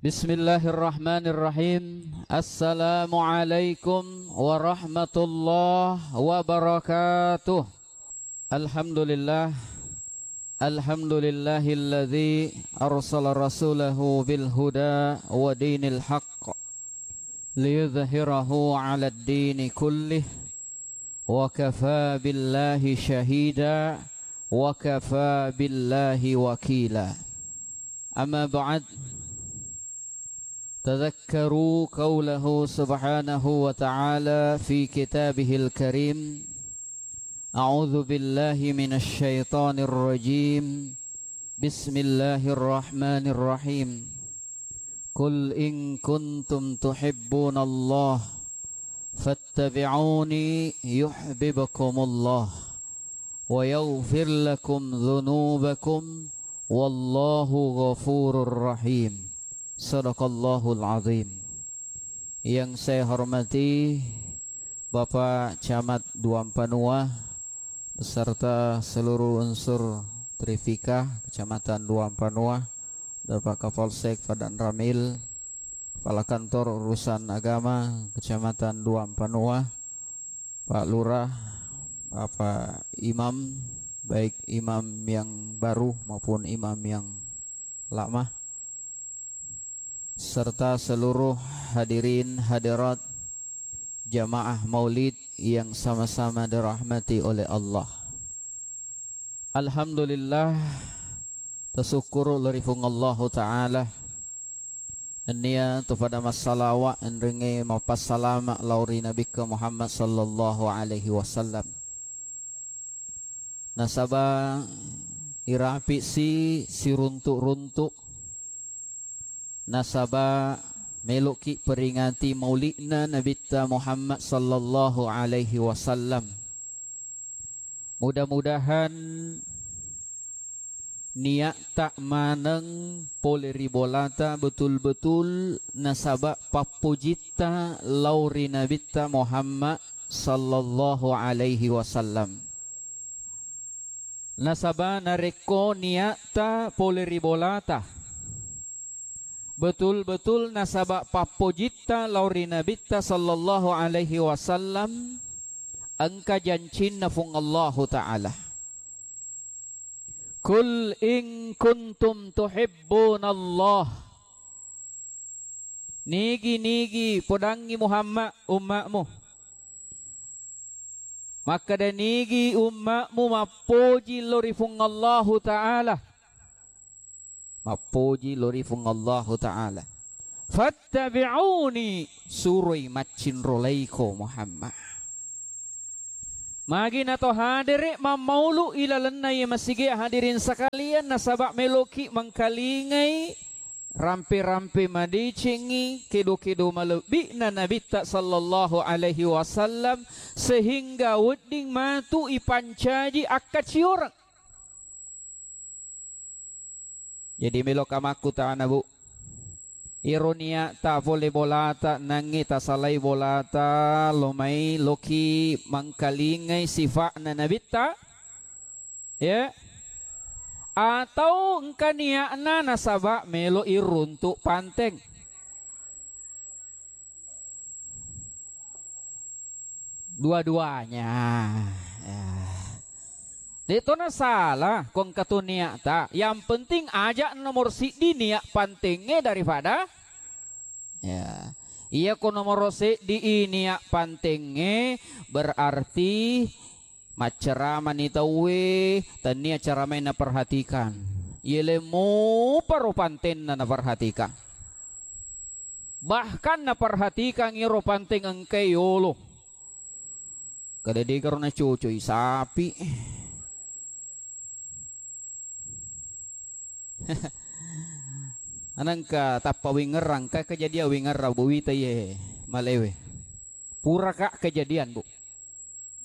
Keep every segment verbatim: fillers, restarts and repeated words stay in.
Bismillahirrahmanirrahim. Assalamualaikum warahmatullahi wabarakatuh. Alhamdulillah. Alhamdulillahilladzi arsala rasulahu bil huda wa dinil haqq liyudhhirahu 'alad dini kullih wa kafa billahi syahida wa kafa billahi wakila. Amma ba'd. Tadzakkaru qaulahu subhanahu wa ta'ala fi kitabihil karim. A'udzu billahi minasy syaithanir rajim. Bismillahirrahmanirrahim. Qul in kuntum tuhibbunallah fattabi'uni yuhibbukumullah wa yaghfir lakum dzunubakum wallahu ghafurur rahim. Sadaqallahul azim. Yang saya hormati Bapak Camat Duampanua beserta seluruh unsur Trifika Kecamatan Duampanua, Bapak Kapolsek Padang Ramil, Kepala Kantor Urusan Agama Kecamatan Duampanua, Pak Lurah, Bapak Imam, baik imam yang baru maupun imam yang lama, serta seluruh hadirin hadirat jamaah maulid yang sama-sama dirahmati oleh Allah. Alhamdulillah, tasukkuru lao ri Puang Allahu Ta'ala. Nennia to pada massalawa enrengnge mappassalama lao ri Nabikka Muhammad sallallahu alaihi wasallam. Nasaba irapi si siruntu-runtu. Nasaba meloki peringati mauli'na Nabitta Muhammad sallallahu alaihi wasallam. Mudah-mudahan niatta maneng pole ri bolata betul-betul nasaba pappojitta lao ri Nabitta Muhammad sallallahu alaihi wasallam. Nasaba narekko niatta pole ri bolata betul-betul nasaba pappojitta lao ri Nabitta sallallahu alaihi wasallam, engka jancinna Puang Allahu Ta'ala. Qul in kuntum tuhibbunallah. Nigi-nigi podangngi Muhammad umma'mu. Makkeda nigi umma'mu mappoji lao ri Puang Allahu Ta'ala. Mappoji lao ri Puang Allahu Ta'ala. Fattabi'uni, suroi maccinrolaiko Muhammad. Magi nato hadere mammaulu ilalenna iye masige, hadirin sekalian, nasaba meloki mengkalingai rampe-rampe madecengngi kedo-kedo malebbi'na Nabitta sallallahu alaihi wasallam, sehingga wedding matu ipancaji akkacioreng. Jadi meloka makkutana, Bu. Iro niatta pole bolata, nangngi tasalai bolata, lo mai loki mangkalingai sifa'na Nabitta, ya. Atau engka nia'na nasaba melo iruntu panteng. Dua-duanya. Ya. De' to nasala ko engka to niatta. Yang penting aja nomor siddi niat pantengnge daripada, ya. Iya ko nomor seddi i niat pantengnge, berarti macceramani tauwe, tennia ceramai naperhatikan. Yele mupa ro pantenna naperhatikan. Bahkan naperhatikan iro panteng engkae yolo. Kada degaro nacocoi sapi. Anengka tappa wingerrang, ka kejadian wingerrang, Bu, wita iye malewe. Puraka kejadian, Bu.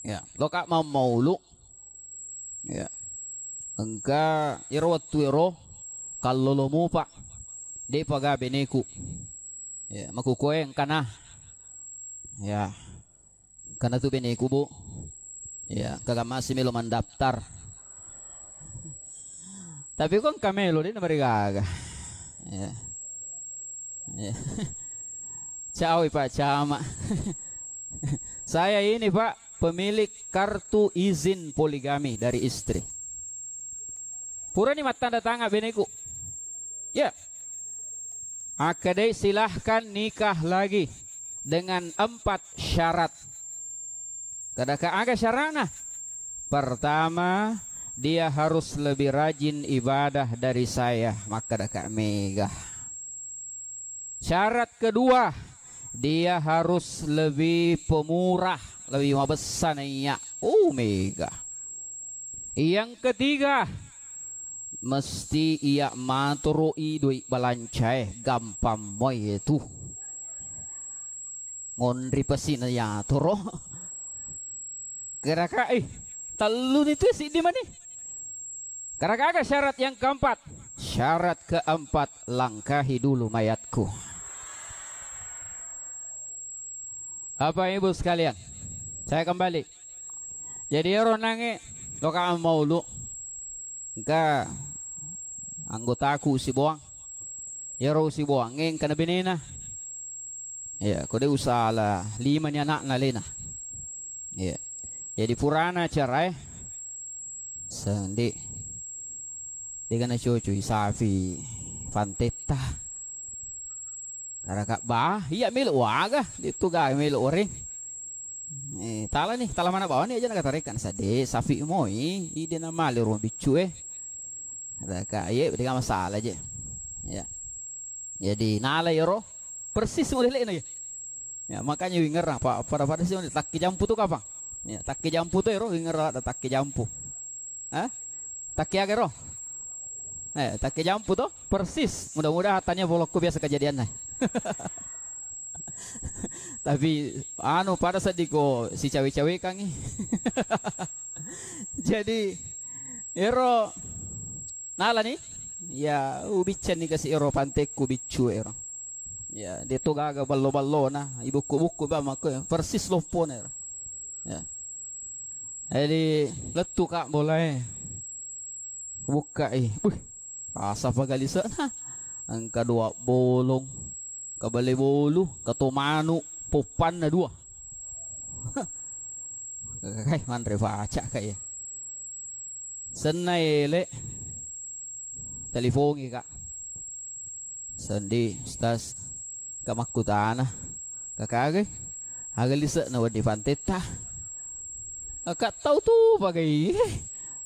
Ya, loka mammaulu. Ya. Engka iro wettu ero kallolo mupa. De'pa ga beneku. Ya, makukoe engkana. Ya. Engkana tu beneku, Bu. Ya, engka masih melo mandaftar. Tapi ko engka melo de' namarigaga. Ya. Cawi, Pak Camat. Saya ini, Pak, pemilik kartu izin poligami dari istri. Purani mattanda tangan beneku. Ya. Akkedai, "Silahkan nikah lagi dengan empat syarat." Kadaka, "Aga syarana?" "Pertama, dia harus lebih rajin ibadah dari saya." Makkadaka mega. "Syarat kedua, dia harus lebih pemurah, lebih mabessa naiya." Oh, mega. "Yang ketiga, mesti iya matoro'i doi balancae, gampang moi itu." Ngonri pasi na yatoro. Geraka, eh, tellu ni tu siddi mani. Karena kagak syarat yang keempat. Syarat keempat, langkahi dulu mayatku. Bapak Ibu sekalian, saya kembali. Jadi, ero nange, loka maulu. Engka anggotaku siboang. Ero siboang, engka na benena. Ya, ko de usala, lima ni anakna lena. Ya. Jadi purana carae, sendi. Dega na cocoi safi fantetta. Karaka ba, iya melo waga, de tu ga melo oreng. Eh, tala ni, tala mana bawa ni aja na katarekan sade, safi moi, ide na male ruang biccu e. Raka, iye, de ga masalah je. Ya. Jadi nala yero persis model na ya. Ya, makanya wingerang, Pak, pada-pada sih takki jampu tu kapang. Ya, takki jampu tu ero wingerang ada takki jampu. Hah? Takki aga ero? Eh, takki jampu tu persis. Mudah-mudahan tania bolokku biasa kejadian nah. Tapi anu pada sedih ko si cawe-cawe kangi. Jadi ero nala ni, ya, ubicca ni kasi ero pantekku biccu ero. Ya, de to gaga ballo-ballona, ibukku-bukku ba makko, persis loppona ero. Ya. Jadi lettu ka bolae. Bukkai. Wih, rasa paga lise'na. Engka dua bolong, ka bale bolu, ka to manu, poppanna dua. Kai manre paca kai. Senna ele, telipongi ka. Sendi, Ustaz, ka makkutana, ka kagai, aga lise'na wedding fantetta? Ka tau tu pagai,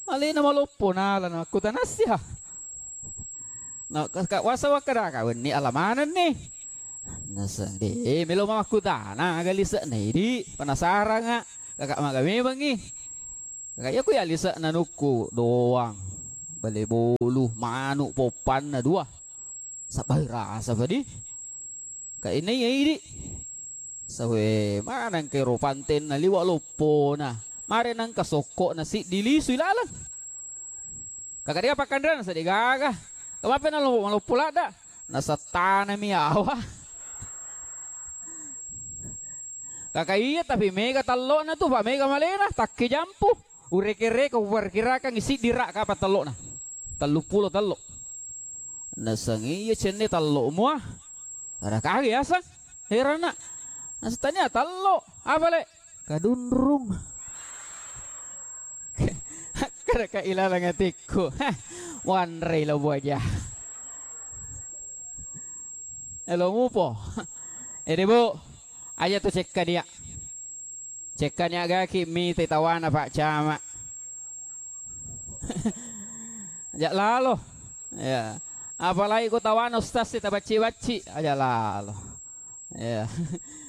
alena maloppo nala na makkutana sia. Na ka, ka wasa wakkada ka wenni ala manenni. Naseng de melo makkutana aga lise'na idi, penasaran nga, kaka maga memengi. Kaka iya ku ya lise'na nukku doang, bale bolu, manu, poppanna dua. Sabbai rasa padi. Ka inai idi. Sawe maneng ke ro pantenna liwa loppona. Mare nangka sokko na siddi lisu ilaleng. Kaka dia pakkanrena seddi gaga. Kamape na lo-, maloppo ladda. Nasattanami awa. Kaka iya, tapi mega tallona tu, Pak, mega malena, takke jampu. Ureke-reke, uperkirakan siddi ra kapang tallona. Telluppulo tello. Naseng iya cenne tello mua. Ada kage asang. Herana. Naseng tania tello. Apa le? Kadunrung. Kada ka ilaleng atikku. Hah, wanrei lo boja. Elo mupo. Ede, Bu, aja tu cekka dia. Cekka nia gaki mite tawana Pak Camat. Aja lalo. Ya. Apalagi ko tawana ustaz si tabacci-bacci. Aja lalo. Ya.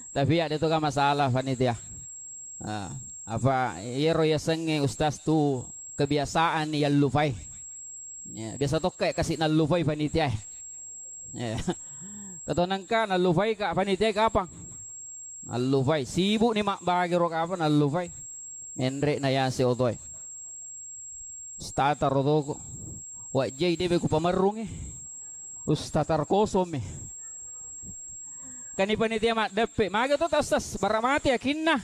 Tapi ada tu kan masalah panitia. Ah, apa iyaro yasengnge ustaz tu kebiasaan yallupai. Ya, biasa tokka kasi nallupai panitia. Ya. Katonangka nallupai ka panitia kapang. Nallupai. Sibuk ni mabbage ro kapang nallupai. Menre na yase otoe. Ustaz taro toko. Wajjai debe ku pamerrungi. Ustaz taro kosong mi. Kani panitia maddeppe. Maga to ta ustaz. Bara mate yakinna.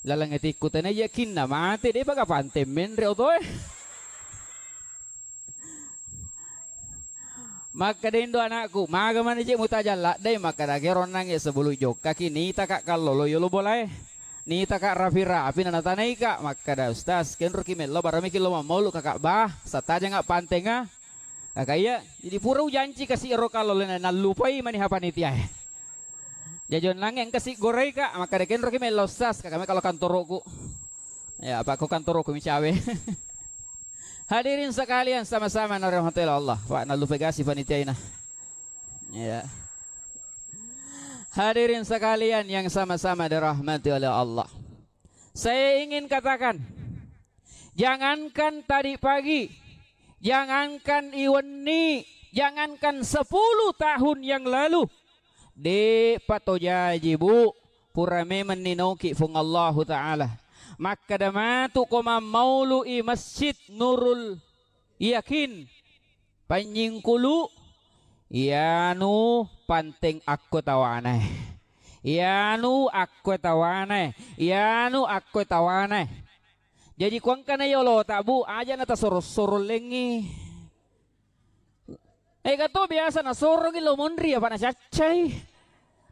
Laleng etikku tena yakinna. Mate de baga pante menre otoe. Makkeda indo anakku, "Maga mani je mutajang laddai?" Makkeda, "Kero nangnge sebelum jokkaki, nitaka kallolo yolo bolae. Nitaka rapi-rapi na natanaika." Makkeda, "Ustaz, kenroki mello baramiki lo mammaulu kakak bah, satajanga pantenga." Kaka iya, jadi pura ujanci kasi ero kallolo na nallupai mani ha panitiae. Jajo nangnge engka si goraika, makkeda, "Kenroki mello Ustaz," kaka me kalau kantoroku. Ya, apa ko kantoroku micawe. Hadirin sekalian sama-sama narahmati Allah. Pak, nallupai gasi panitiaina. Ya. Hadirin sekalian yang sama-sama dirahmati oleh Allah. Saya ingin katakan, jangankan tadi pagi, jangankan iwenni, jangankan sepuluh tahun yang lalu, de'pa to jaji, Bu, pura memang ninoki Fuang Allahu Ta'ala. Makkeda matu ko mammaului Masjid Nurul Yakin, Panyingkulu, iyanu panteng akko tawana. Iyanu akko tawana. Iyanu akko tawana. Jaji kuangkana yolota, Bu, aja na tasoro-soro lengngi. Ega to biasa nasorongi lo monri apa nacaccai.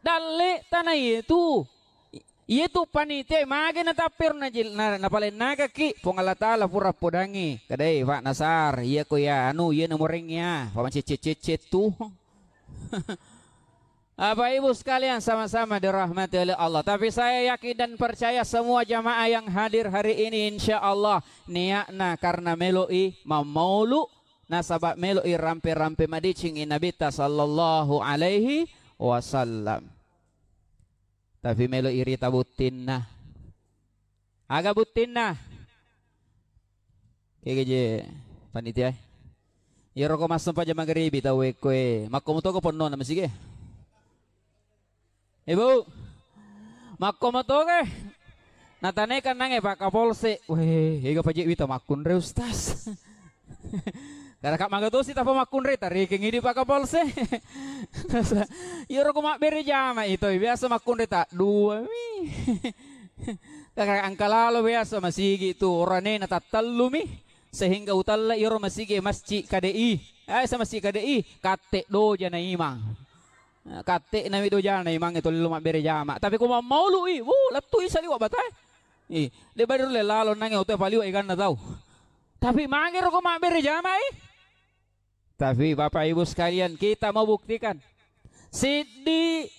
Dalle tana itu. Iyatu panitia mage natappero najil-, na-, napalennakaki Puang Allah Ta'ala pura podangi. Kadai, Pak Nasar, iya ko iya anu, iya namorengngi ya, Pak macecet-cecet tu. Bapak Ibu sekalian sama-sama dirahmati oleh Allah. Tapi saya yakin dan percaya semua jamaah yang hadir hari ini insya Allah niatna karena melo'i mammaulu nasaba melo'i rampe-rampe madeceng i Nabitta sallallahu alaihi wasallam. Tapi melo irita buttinna. Aga buttinna? Kege je panitia. Iyaro ko massempajang mageribi tau ekkoe. Makko mutoko ponnona masige. Ibu. Makko mutoke. Natanai kannange Pak Kapolsek. Weh, ega paje wita makkunre Ustaz. Karena kak maga tosi tapa makkunre, tarekeng idi Pak Kapolsek. Iyaro ko mabbere jama itoi, biasa makkunre tak dua mi. Karena angka lalo biasa masigi tu, orane na tattellu mi. Sehingga utalla iyaro masigi masjid K D I. Eh, sa masjid K D I, katte doja na imang. Katte nami doja na imang itu lilo mabbere jama. Tapi ko mammaului, wuh, lettu isa liwa batai. Ih, de baru le lalo nange oto paliwa iganna tau. Tapi mangero ko mabbere jama i. Tapi Bapak Ibu sekalian, kita mau buktikan. Siddi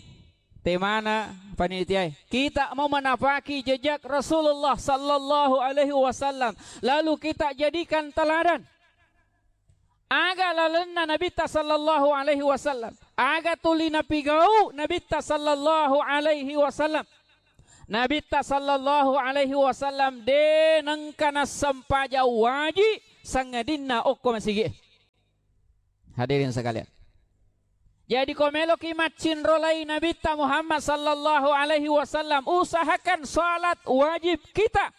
temana panitia, kita mau menapaki jejak Rasulullah sallallahu alaihi wasallam. Lalu kita jadikan teladan. Aga lalenna Nabitta sallallahu alaihi wasallam. Aga tuli napigau Nabitta sallallahu alaihi wasallam. Nabitta sallallahu alaihi wasallam de nengka nassempajang waji sangadinna okko masigi. Hadirin sekalian. Jadi ko meloki maccinrolai Nabitta Muhammad sallallahu alaihi wasallam, usahakan salat wajib kita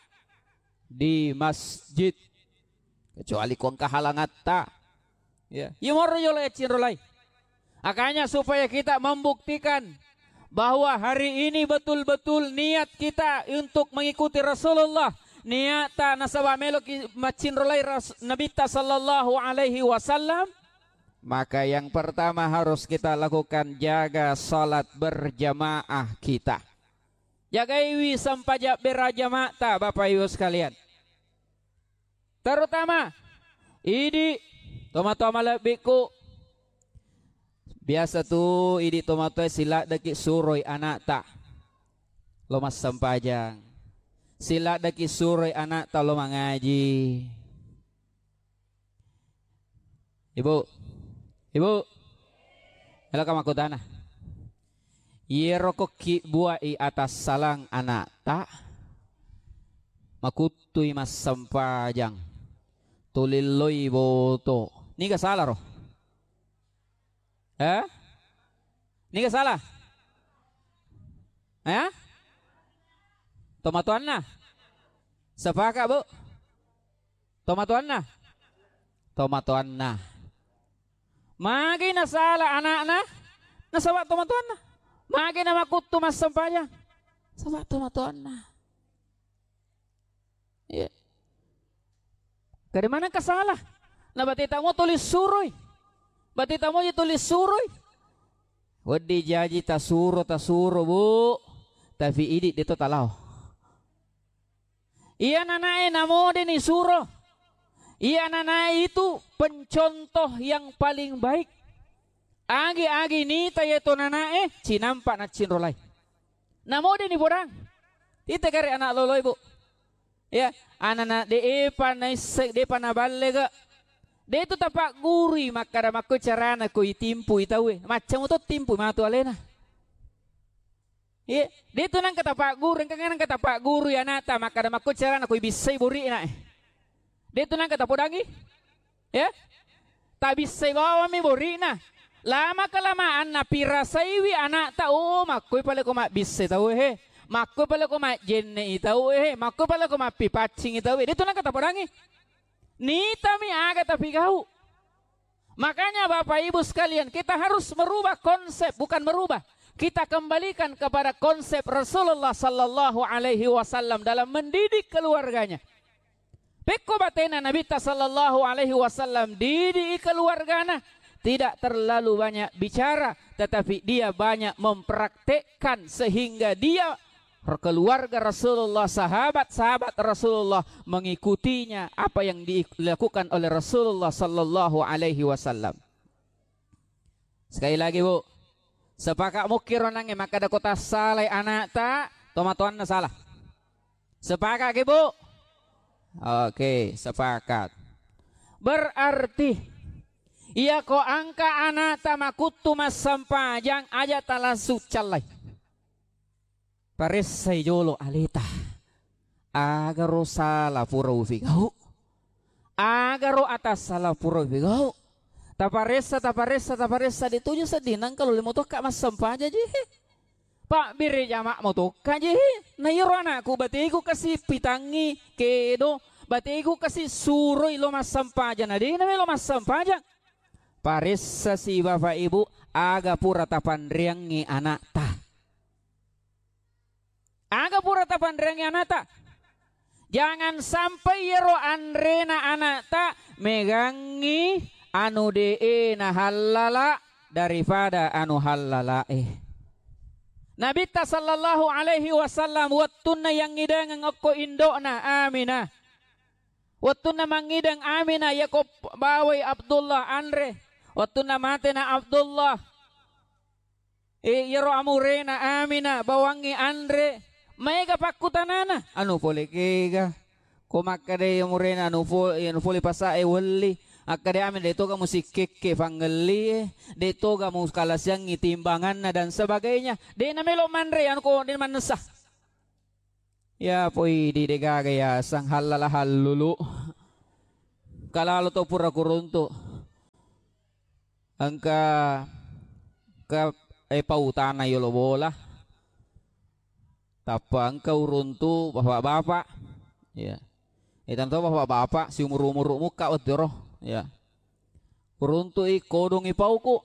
di masjid. Kecuali ko engka halangatta. Ya, iya morro yolo yaccinrolai. Makanya supaya kita membuktikan bahwa hari ini betul-betul niat kita untuk mengikuti Rasulullah, niatta nasaba meloki maccinrolai Ras-, Nabitta sallallahu alaihi wasallam, maka yang pertama harus kita lakukan, jaga salat berjamaah kita. Jagaiwi sempajang berjamaahta, Bapak Ibu sekalian. Terutama idi tomatoa malebbiku. Biasa tu idi tomatoa siladdeki suroi anakta lo massempajang. Siladdeki suroi anakta lo mangaji. Ibu, Ibu, eloka makkutana. Iyero ko kibbuai atassalang anakta, makuttui massempajang, tulilloi boto. Niga salah ro? Eh? Niga salah? Eh? Tomatoanna? Sepakat, Bu? Tomatoanna? Tomatoanna. Magi nasala anakna? Nasaba tomatoanna. Magi namakuttu massempajang? Saba tomatoanna. Iya. Dari mana engka salah? Nabateta mo tuli suroi. Bati tamoji tuli suroi. Wedding jaji tasuro, tasuro, Bu. Tapi idi' deto talao. Iya nanae namode nisuro. Iya nanae itu pencontoh yang paling baik. Agi-agi nita yeto nanae, cinampa naccinro lai. Namode nipodang. Ita gare anak loloi, Bu. Ya, anana de'epa naisseng, de'pa naballega. De'tu tapaggurui makkada makko carana ko itimpui tauwe. Maccamu to timpui matu alena. Iya, de'tu nangka tapagguru, engka nangka tapaggurui anakta makkada makko carana ko ibissai bori'na. De'tu nangka tapodangi. Ya? Tabissai bawammi bori'na. Lama kelamaan napirasaiwi anakta, oh, makkoi pale ko mabbissai tauwe he. Makkoi pale ko majjenne'i tauwe he. Makkoi pale ko mappipaccingi tauwe. De'tu nangka tapodangi. Nitami aga tapigau. Makanya Bapak Ibu sekalian, kita harus merubah konsep, bukan merubah. Kita kembalikan kepada konsep Rasulullah sallallahu alaihi wasallam dalam mendidik keluarganya. Pekko batena Nabitta sallallahu alaihi wasallam didi keluargana, tidak terlalu banyak bicara, tetapi dia banyak mempraktekkan sehingga dia keluarga Rasulullah, sahabat-sahabat Rasulullah mengikutinya apa yang dilakukan oleh Rasulullah sallallahu alaihi wasallam. Sekali lagi, Bu, sepakat mukkiro nangnge makkada ko tassalai anakta, tomatoanna salah. Sepakat ki, Bu? Oke, sepakat. Berarti iya ko engka anakta makuttu massempajang, aja talangsung callai. Paressai jolo aleta. Agaro sala pura upigau? Agaro atassala pura upigau? Taparessa, taparessa, taparessa, de tuju sedding nangka lolemo tokka massempajang ji. Pabbere jama mo tokka ji. Na iyaro anakku bategu kasi pitangngi kedo, bategu kasi suroi lo massempajang, na de na melo massempajang. Paressasi Bapak Ibu, aga pura tapanreangngi anakta. Aga pura tapanreangngi anakta. Jangan sampai iyaro anrena anakta megangngi anu de'e nahallala daripada anu hallalae. Nabitta sallallahu alaihi wasallam wettunna yangngidengeng okko indo'na Aminah. Wettunna mangngideng Aminah, yako bawai Abdullah anre. Wettunna matena Abdullah, E, iyaro amurena Amina bawangngi anre, maega pakkutanana, anu pole kega. Ko makkeda amurena anu fo-, anu fole pasae welli, akkeda Amina de toga musikkekke pangellie, de toga mukalasiangngi timbanganna dan sebagainya. De namelo manre anu ko de mannessa. Ya poi di degaga yaseng hallala hallulu. Kalalo to pura kuruntu. Engka ke, eh, pautana yolo bola. Tappa engka uruntu bapak-bapak. Ya. Eh, tanto bapak-bapak siumur-umur mukka wettero. Ya. Uruntu i kodongi pauku.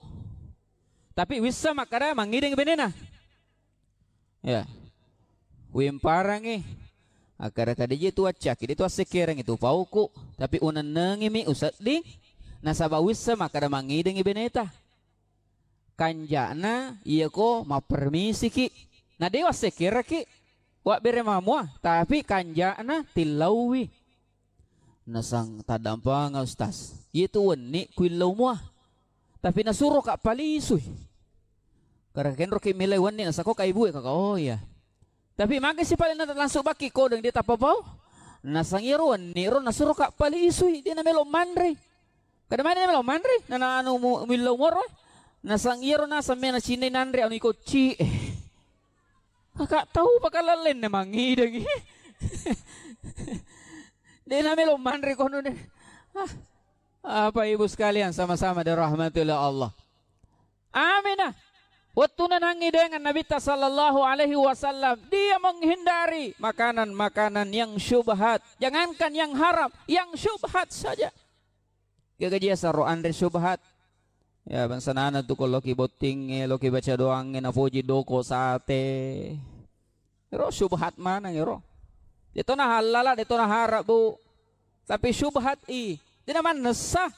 Tapi wissa makkada mangngideng benena. Ya. Uimparangngi. Akkada-kada je tu accaki, de tu assekkerangngi tu pauku, tapi unennengimi usedding, nasaba wissa makkada mangidengngi beneta. Kanjana iyako mappermisiki. Na de wassekkeraki, wabbere mamua, tapi kanjana tillauwi. Nasang taddampanga, Ustaz. Iyetu wenni kuillau mua. Tapi nasuroka palisui. Kara kenroki milai wenni nasako kaibue kaka. Oh iya. Tapi magesi pale na langsung bakki kodeng dia tapapau. Nasang iyaro wenni ro nasuroka palisui. Dia namelo manre. Kada mana namelo manre. Nana anu mu-, millau moro. Nasang iyaro nasang mena cinai nanre anu ikocci. Kaka tau pakalalenne mangidengi. De namelo manre kono de. Ah. Apa ibu sekalian sama-sama dirahmati oleh Allah. Aminah. Wettunna nangi dengan Nabitta sallallahu alaihi wasallam, dia menghindari makanan-makanan yang syubhat. Jangankan yang haram, yang syubhat saja. Gaga jia saro anre syubhat. Ya, bangsa nana tu ko loki bottingnge, loki baca doangnge, napoji doko sate. Ero syubhat maneng ero. Detona halala, detona haram, Bu. Tapi syubhat i. Dena mannessa.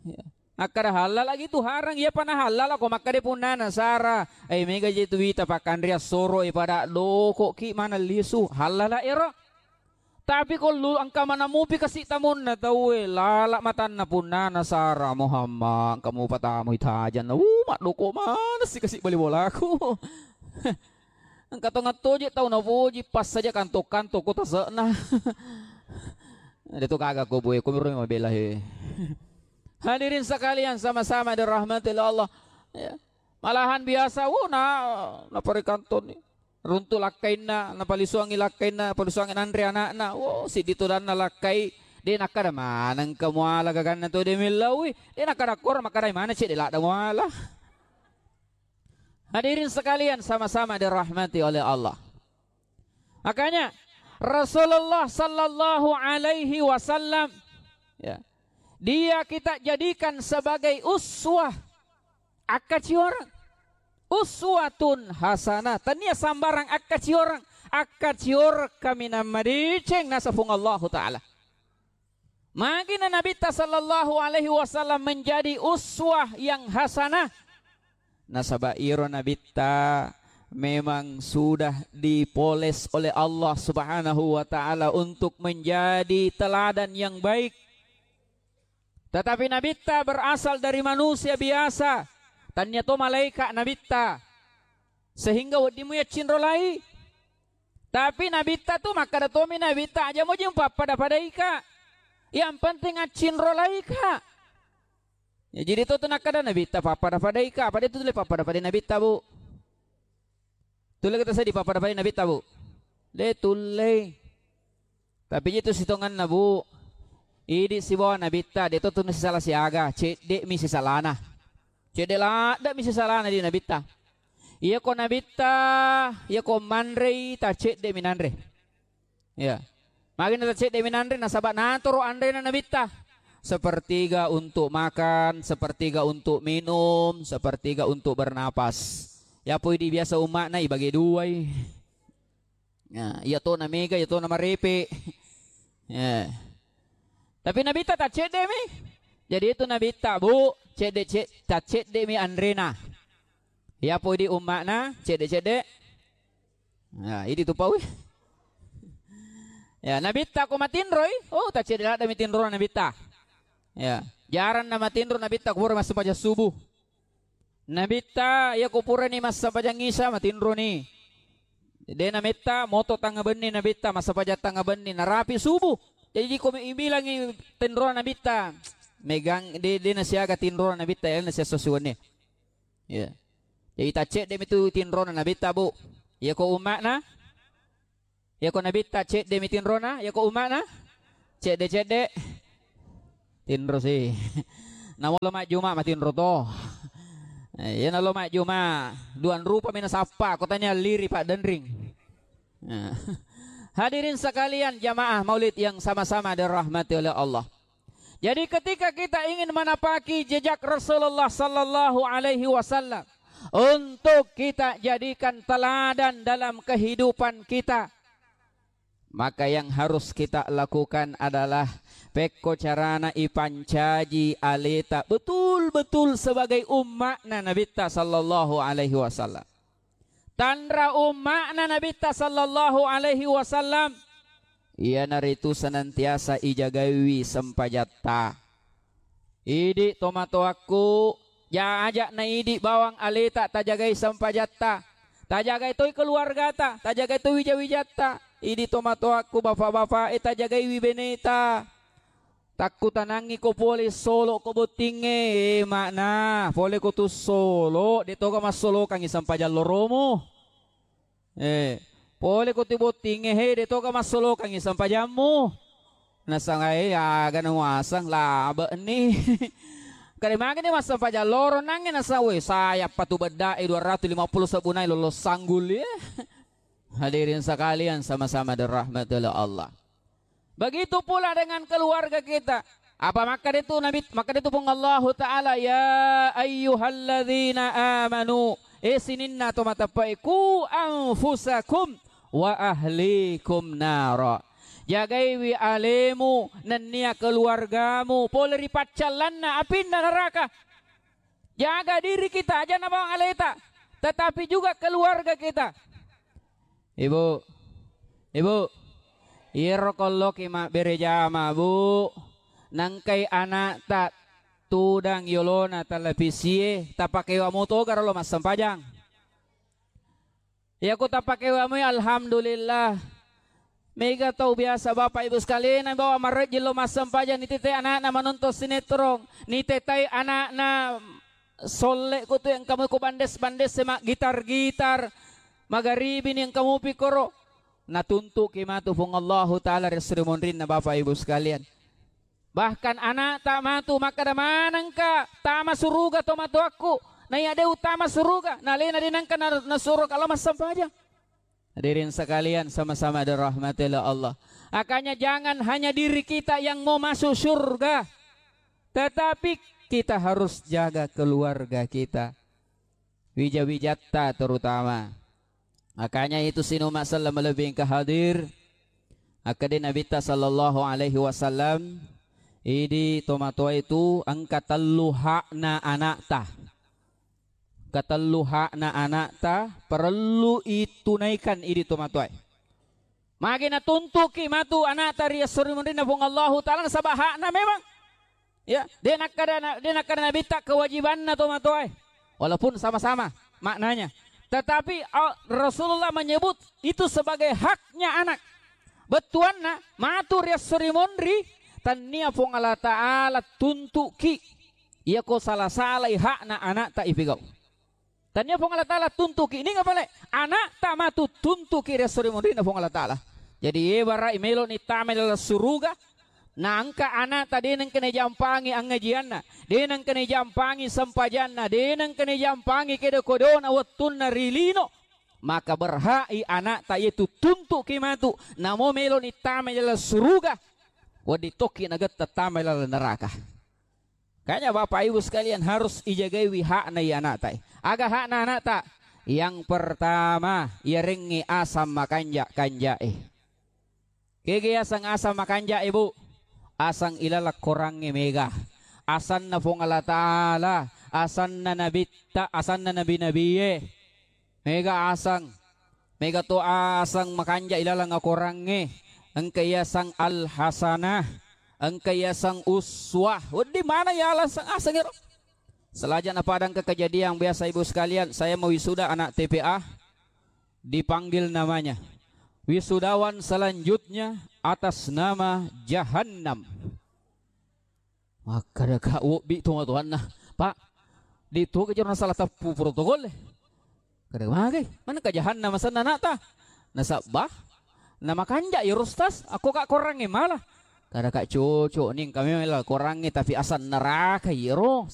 Ya. Akkada hallala gitu harang, iya pana hallala ko makkada punnana Sara, eh, mega je tu wita pakkanreang soro e pada doko ki maneng lisu, hallala ero. Tapi ko lu engka mana mupi kasi tamunna tauwe, lala matanna punnana Sara, Muhammad, engka mupa tamu itajanna, uh, maddoko maneng si kasi bali bolaku. Engka to ngattoje tau napoji, pas saja kanto-kanto ko tase'na. Deto gaga ko boe, ko miro mabela he. Hadirin sekalian sama-sama dirahmati oleh Allah. Ya. Malahan biasa, wo na, napari kantoni. Runtu lakkainna, napalisuangi lakkainna, palisuangi nanre anakna. Wo, siddi todanna lakkai. De nakkada maneng ka muala gaganna to de mellaui. De nakkada kor makkadai mana cedde ladda muala. Hadirin sekalian sama-sama dirahmati oleh Allah. Makanya Rasulullah sallallahu alaihi wasallam, ya, dia kita jadikan sebagai uswah, akkacioreng. Uswatun hasanah, tania sambarang akkacioreng, akkacioreng kaminang madeceng nasapung Allahu Ta'ala. Magina Nabitta sallallahu alaihi wasallam menjadi uswah yang hasanah. Nasaba iro Nabitta memang sudah dipoles oleh Allah Subhanahu wa Ta'ala untuk menjadi teladan yang baik. Tetapi Nabitta berasal dari manusia biasa. Tania to malaika Nabitta. Sehingga wedding mu yaccinrolai. Tapi Nabitta tu makkada tomi Nabitta, aja muji mupappada-padaika. Yang penting accinrolaika. Ya, jadi to tu nakkada Nabitta pappada-padaika, pada itu tulle pappada-padai Nabitta, Bu. Tulle kita seddi pappada-padai Nabitta, Bu. De tulle. Tapi itu sitonganna, Bu. Idi sibawa Nabitta, de to tu sisala siaga, cedde mi sisalana. Cedde ladde mi sisalana di Nabitta. Iya ko Nabitta, iya ko manrei, ta cedde mi nanre. Ya. Magina ta cedde mi nanre, nasaba natoro anrena Nabitta. Sepertiga untuk makan, sepertiga untuk minum, sepertiga untuk bernapas. Ya poi di biasa umma'na ibage duai. Ya, iya to na mega, iya to na marepe. Ya. Tapi Nabitta ta cedde mi. Jadi itu Nabitta, Bu, cedde, ced-, ta cedde mi anrena. Ya poi di umma'na, cedde-cedde. Ya, idi tu paui. Ya, Nabitta ko matinroi, oh, ta cedde ladde mi tinro Nabitta. Ya, jarang na matinro Nabitta ko pura massempajang subuh. Nabitta, iya ko purani massempajang isa, matinroni. De nametta moto tangnga benni Nabitta, massempajang tangnga benni, narapi subuh. Jadi ko mi-, ibilangi tinro Nabitta, megang, de, de nasiaga tinro Nabitta, ya nasiaga suwenni. Ya. Jadi ta cedde mi tu tinrona Nabitta, Bu. Iya ko umma'na, iya ko Nabitta cedde mi tinrona, iya ko umma'na cedde-cedde. Tinro si. Namo lo majjuma matinro to. Eh, iya na lo majjuma, duan rupa mi nasappa, ko tania liri Pak Denring. Nah. Hadirin sekalian jamaah maulid yang sama-sama dirahmati oleh Allah. Jadi ketika kita ingin menapaki jejak Rasulullah sallallahu alaihi wasallam untuk kita jadikan teladan dalam kehidupan kita, maka yang harus kita lakukan adalah pekko carana ipancaji aleta betul-betul sebagai umma'na Nabitta sallallahu alaihi wasallam. Tanra umma'na Nabitta sallallahu alaihi wasallam, iyanaritu senantiasa ijagaiwi sempajatta. Idi tomatoakku, ja-, aja'na idi bawang aleta tajagai sempajatta, tajagai toi keluargata, tajagai toi wija-wijatta. Idi tomatoakku, bapak-bapak, e tajagaiwi beneta. Takkutanangngi ko pole solo ko bottingnge, eh, makna pole ko tu solo, de toga massolokangngi sempajang loromu. Eh, pole ko tu bottingnge, he, de toga massolokangngi sempajammu. Nasanga, eh, aga na muaseng, labe ni. Kare mage ni massempajang loro nangnge nasang, weh, sayappa tu bedda e dua ratus lima puluh sebbunai lolo sanggul, eh. Hadirin sekalian sama-sama dirahmati oleh Allah. Begitu pula dengan keluarga kita. Apa makkada itu Nabi, makkada itu Puang Allahu Ta'ala, "Ya ayyuhalladzina amanu," eh sininna to mateppe'e, "ku anfusakum wa ahlikum nara." Jagaiwi alemu nennia keluargamu pole ri paccallanna apinna neraka. Jaga diri kita, aja' na bawang aleta, tetapi juga keluarga kita. Ibu, ibu, iyaro ko loki mabbere jama, Bu, nangkai anakta tudang yolona televisie, tapakewa motogaro lo massempajang. Iya ko tapakewa moi, alhamdulillah. Mega tau biasa, Bapak Ibu sekalian, bawa marejji lo massempajang, nitetai anakna menonton sinetron, nitetai anakna solle ko tu engka moi ko bandes-bandes e maggitar-gitar, magaribi ni engka mupi koro. Natuntuki matu Puang Allahu Ta'ala ri esso ri monrinna, Bapak Ibu sekalian. Bahkan anakta matu makkeda, "Manengka tama suruga tomatoakku, naiya de' utama suruga, nalena de' nengka na-, nasuro kalo massempajang." Hadirin sekalian, sama-sama dirahmati oleh Allah. Makanya jangan hanya diri kita yang mau masuk surga, tetapi kita harus jaga keluarga kita, wija-wijatta terutama. Makanya itu sining umma selleng malebbi engka hadir, akkeda Nabitta sallallahu alaihi wasallam, idi tomatoa itu engka tellu hakna anakta. Engka tellu hakna anakta parellu itunaikan idi tomatoae. Magi natuntuki matu anakta ri esso ri monrinna Puang Allahu Ta'ala, nasaba hakna memang. Ya, de' nakkeda na-, de' nakkeda Nabitta kewajibanna tomatoae. Walaupun sama-sama maknanya. Tetapi, a-, Rasulullah menyebut itu sebagai haknya anak. Bettuanna, matu ri esso ri monri, tannia Puang Allah Ta'ala tuntuki. Iya ko sala-salai hakna anakta ipigau. Tannia Puang Allah Ta'ala tuntuki, ninga pale, anakta matu tuntuki ri esso ri monrinna Puang Allah Ta'ala. Jadi, ibarai meloni tama laleng suruga, na engka anakta de' nengka najampangi angajianna, de' nengka najampangi sempajanna, de' nengka najampangi kedo-kedona wettunna ri lino, maka berhak i anakta iyetu tuntuki matu, namo meloni tama laleng suruga, wedding tokki nagetta tama laleng neraka. Makanya Bapak Ibu sekalian harus ijagaiwi hakna i anakta e. Aga hakna anakta? Yang pertama, iyarengngi asang makanja-kanjae. Kega asang-asang makanja, Ibu? Asang ilaleng korangnge mega. Asanna Puang Allah Ta'ala, asanna Nabitta, asanna nabi-nabie. Mega asang. Mega to asang makanja ilaleng akorangnge. Engka iasang Al-Hasanah. Engka iasang Uswah. Wedding maneng iasang asang ero. Selajana pada engka kejadian biasa, Ibu sekalian, saya mau wisuda anak T P A, dipanggil namanya. Wisudawan selanjutnya atas nama Jahannam. Makkeda ka wobbi tomatoanna, "Pak, di toga jero nasala teppu protokol e?" Kada magai, maneng ka Jahannam asenna anakta. Nasabba, namakanja iyaro Ustaz, akko ka korangnge mala. Kada ka cocok ni, engka memang laleng korangnge, tapi asang neraka iyaro.